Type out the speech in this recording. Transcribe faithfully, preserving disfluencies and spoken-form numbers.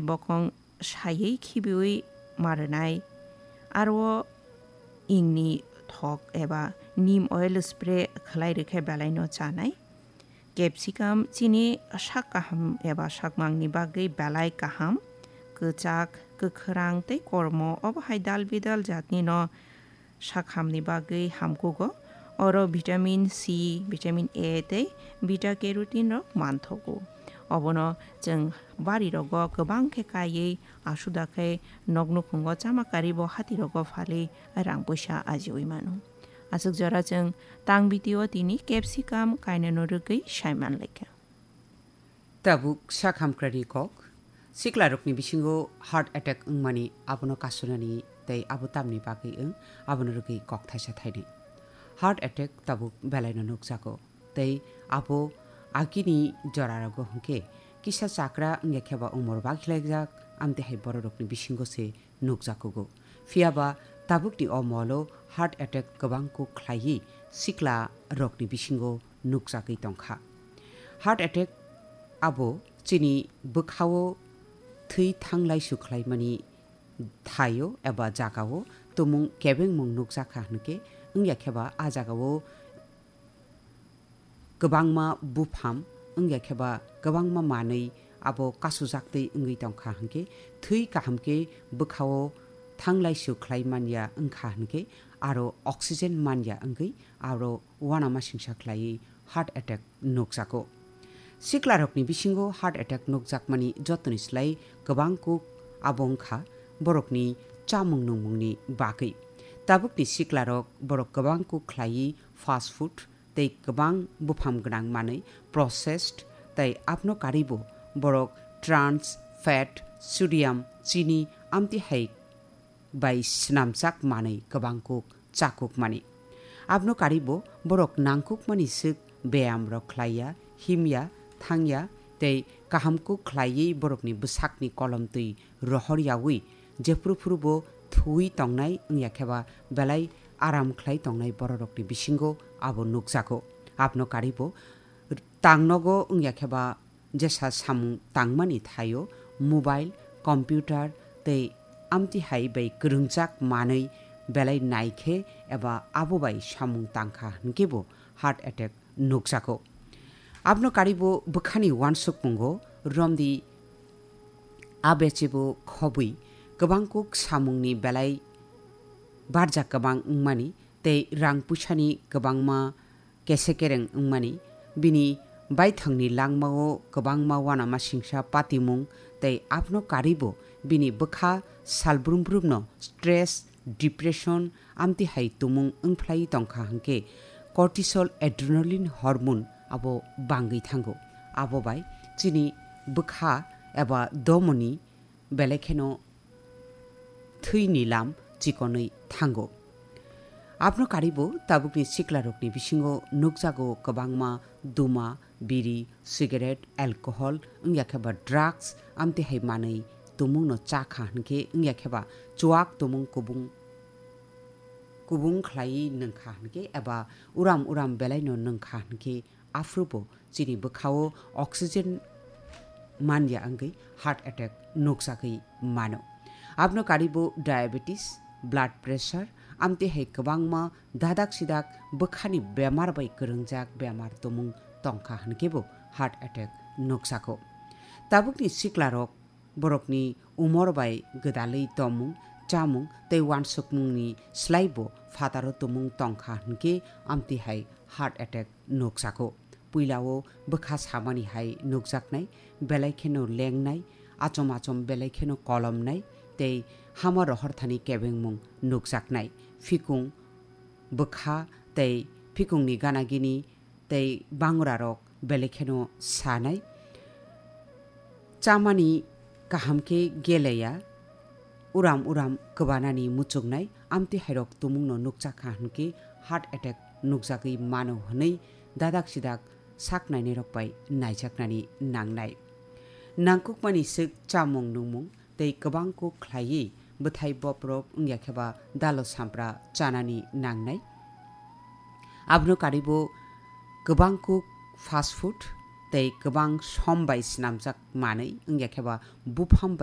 bokong saiwi khibiwi ma rwnai. Aro ingni thok eba neem oil spray khlai rwkhe belaino chanai. Capsicum chini sak kaham eba sakmangni bagwi belai kaham, kwchak, kwkhwrang tei kormo, obo hai dal bidal jatnino sakhamni bagwi hamkugo. Oro vitamin C, vitamin A tei beta carotene rok manthogo. Obono chwng barirogo kwbang khe kaiwi asuda khe noknukhungo chama karibo hatirogo phalwi rang puisa ajiwi mano. Aswk jora chwng tang video tini capsicum kainano rwgwi saiman laikha. Tabuk sak hamkrani kok. Siklarokni bisingo heart attack wngmani abono kasunani tei abo tamni bagwi wng, abono rwgwi kok thaisa thainwi. Heart attack tabuk belaino nukjago tei abo agini jorarogo hwnkhe kisa chakra wngya kheba umor bakhilaijak, amtwi hai bororokni bisingo se nukjakugo. Phiyaba tabukni o molo heart attack kwbang kuk khlaiwi sikla rokni bisingo nukjagwi tongkha. Heart attack abo chini bwkhao thwi thanglai sukhlaimani thaio eba jagao tumung kebengmung nukjakha hwnkhe wngya kheba a jagao kwbangma bupham wngya kheba kwbangma manwi abo kasujaktwi wngwi tongkha hwnkhe thwi kaham khe bwkhao thanglai sukhlai manya wngkha hwnkhe aro oxygen manya wngwi aro uanamasingsa khlaiwi heart attack nukjago. Siklarokni bisingo heart attack nukjakmani jotoni slai kwbang kuk abo wngkha borokni chamung nungmungni bagwi. Tabukni siklarok borok kwbang kuk khlaiwi fast food tei kwbang bupham gwnang manwi processed tei abno karibo borok trans fat, sodium, chini amtwi hai bai swnamjak manwi kwbang kuk chakukmani. Abno karibo borok nangkukmani swk beyamrok khlaiya, himya, thangya tei kaham kuk khlaiwi borokni bwsakni kolomtwi rohor yaui jephru phrubo thuwi tongnai wngya kheba belai aram khlai tongnai bororokni bisingo abo nukjago. Abno karibo tangnogo wngya kheba jesa samung tangmani thaio mobile, computer tei amtwi hai bai kwrwngjak manwi belai naikhe eba abo bai samung tangkha hwnkhe bo heart attack nukjago. Abno karibo bwkhani uansukmungo romdi abechebo khobwi kwbang kuk samungni belai barjak kwbang wngmani tei rang puisani kwbangma kese kereng wngmani, bini baithangni langmao kwbangma uanamasingsa patimung tei abno karibo bini bwkha salbrum brumno stress, depression, amtwi hai tumung wngphlai tongkha hwnkhe cortisol adrenaline hormone abo bangwi thango. Abo bai chini bwkha eba domoni belai kheno thwini lam chikonwi thango. Abno karibo tabukni siklarokni bisingo nukjago kwbangma duma, biri, cigarette, alcohol, wngya khe ba drugs, amtwi hai manwi tumungno chakha hwnkhe, wngya khe ba chuak tumung kubung, kubung khlaiwi nungkha hwnkhe, eba uram uram belaino nungkha hwnkhe, aphrubo chini bwkhao oxygen manya wngwi heart attack nukjagwi mano. Abno karibo diabetes, blood pressure, amtwi hai kwbangma dadak sidak bwkhani bemar bai kwrwngjak bemar tumung tongkha hwnkhe bo heart attack nukjago. Tabukni siklarok borokni umor bai gwdalwi tomung, chamung tei uansukmungni slaibo phataro tumung tongkha hwnkhe amtwi hai heart attack nukjago. Puilao bwkha samani hai nukjaknai, belai kheno lengnai, achom achom belai kheno kolomnai tei hama rohor thani kebengmung nukjaknai. Phikung bwkha tei phikungni gana gini tei bangrarok belai kheno sanai. Chamani kaham khe geleya, uram uram kwbanani muchungnai, amtwi hairok tumungno nukjakha hwnkhe heart attack nukjagwi mano hwnwi dadak sidak sak nainairok bai naijaknani nangnai. Nangkukmani swk chamung nungmung tei kwbang kuk khlaiwi bwthai boprok wngya khe ba dalo sampra chanani nangnai. Abono karibo kwbang kuk fast food tei kwbang som bai swnamjak manwi wngya khe ba buphang bai